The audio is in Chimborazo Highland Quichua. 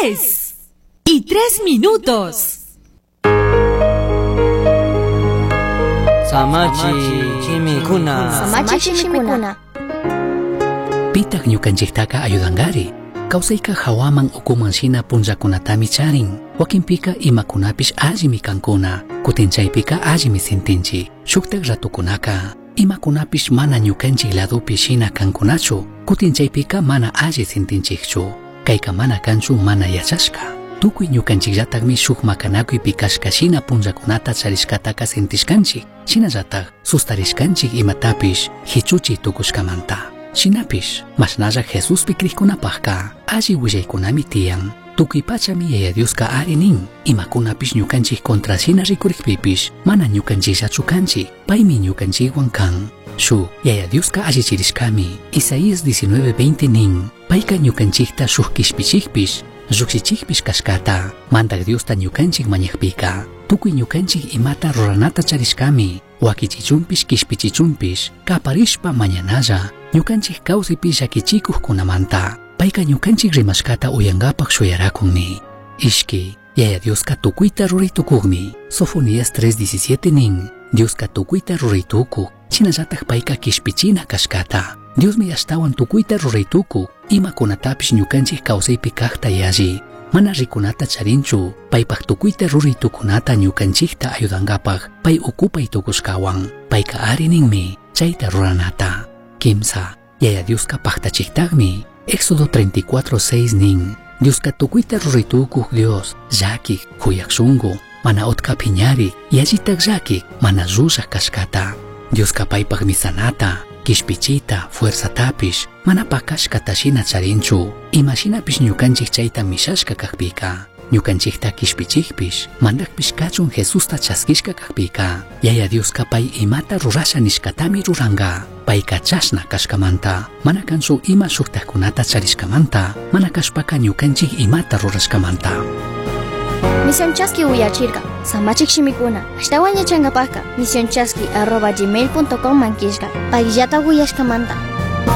3 y 3 minutos. Samachi shimikuna. Samachi shimikuna. Pitaq ñukanchiktaka ayudangari. Kawsayka hawaman ukuman shina punllakunatami charin. Wakinpika imakunapish allimi kankuna. Kutin chaypika allimi sintinchik. Shuktak ratukunaka imakunapish mana ñukanchik ladopi shina kankunachu. Kutin chaypika mana alli sintinchikchu. Kayka mana kanchu mana yachashka. Tukuy ñukanchikllatakmi shuk makanakuypi kashka shina punllakunata charishkataka sintishkanchik. Shinallatak sustarishkanchik imatapish hichuchi tukushkamanta. Shinapish mashnalla Jesuspi krikkunapaqka alli willaykunami tiyan. Tukuy pachami Yaya Dioska ari nin. Imakunapish ñukanchik contra shina rikurikpipish mana ñukanchikllachu kanchik. Paymi ñukanchikwan kan. Shu Yaya Dioska allichirishkami. Isaías 19:20 nin. Payka ñukanchikta shuk kishpichikpish llukshichikpish kashkata. Mandak Diosta ñukanchik mañakpika. Tukuy ñukanchik imata ruranata charishkami. Wakichichunpish kishpichichunpish kaparishpa mañanalla. Ñukanchik kawsaypi llakichikuqkunamanta. Payka ñukanchik rimashkata uyankapaq shuyarakunmi. Ishki, Yaya Dioska tukuyta ruraytukuqmi. Sofonías 3:17 nin. Dioska tukuyta ruraytukuq. Shinallatak payka kishpichina kashkata. Diosmi ashtawan tukuyta ruraytukuq. Imakunatapish ñukanchik kawsaypi kaqta yalli. Mana rikunata charinchu. Paypaq tukuyta ruraytukunata ñukanchikta ayudankapaq pay ukupay tukushkawan. Payka ari ninmi chayta ruranata. Kimsa, Yaya Dioska paqtachiktaqmi. Éxodo 34:6 nin. Dioska tukuyta ruraytukuq Dios, llakik, kuyaq shunqu, mana utka phiñarik, yallitak llakik, mana llullaq kashkata. Dioska paypaq misanata, kishpichita, fuerzatapish, mana pakashkata shina charinchu. Imashinapish ñukanchik chayta mishashka kaqpika. Ñukanchikta kishpichikpish, mandakpish kachun Jesusta chaskishka kaqpika. Yaya Dioska pay imata rurasha nishkatami ruranka. Payka chashna kashkamanta, mana kanchu ima shuktakkunata charishkamanta, mana kashpaka ñukanchik imata rurashkamanta. Misión Chaski uyachirka. Samachik shimikuna. Ashtawan yachankapaqka misionchaski@gmail.com mankishka. Payllata uyashkamanta.